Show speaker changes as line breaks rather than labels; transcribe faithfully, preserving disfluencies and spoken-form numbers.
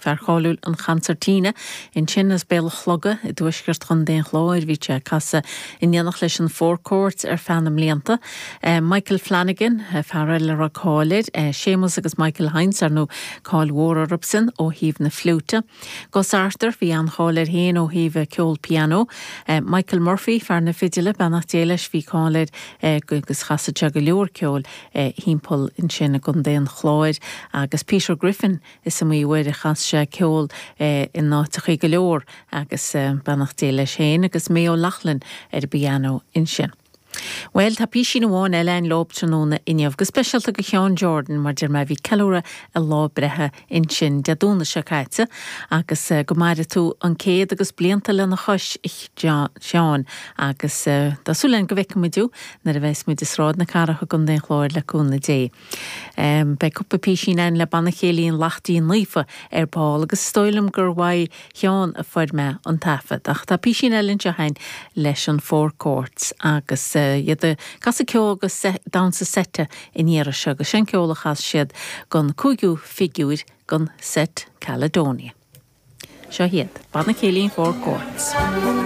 fear cáiliúil an chansairtín ansin as Béal an Chloga i dtuaisceart Chontae an Chláir bhí sé ag casadh in éineacht leis an Four Courts ar feadh na mblianta. Michael Flanagan fear eile a raibh cáil air, Séamus agus Michael Hynes ar ndóigh cáil mhór orthusan ó thaobh na fliúite. Gus Arthur bhí an-cháil air féin ó thaobh ceol pianó. Michael Murphy fear na fidile beannacht Dé leis bhí cáil air agus chasadh sé go leor ceoil timpeall ansin i gContae an Chláir agus Peter Griffin is iomaí uair a chas sé ceol in áiteachaí go leor agus beannacht Dé leis féin agus May O'Loughlin ar an bpianó ansin. Well tá písín amháin eile againn leob tráthnóna inniu, go speisialta go Sheán Jordan mar deir mé bhí ceiliúradh a lá breithe ansin Dé Domhnaigh seo caite agus go maire tú an céad agus blianta lena chois Seán agus tá súil againn go bhfeicfimid thú nuair a bheas muid i Sráid na Cathrach i gContae an Chláir le cúnamh Dé. Um, Beidh cúpla písín againn le Banna Céilí an Laichtín Naofa ar ball agus is dóigh liom gur uaidh Sheán a fuair mé an taifead ach tá písín eile anseo againn leis an Four Courts agus uh, iad ag casadh ceol agus damhsa seite in iarra seo agus sin ceol a chas siad don cúigiú figiúir don set Caledonia. Seo iad, Banna Céilí Four Courts.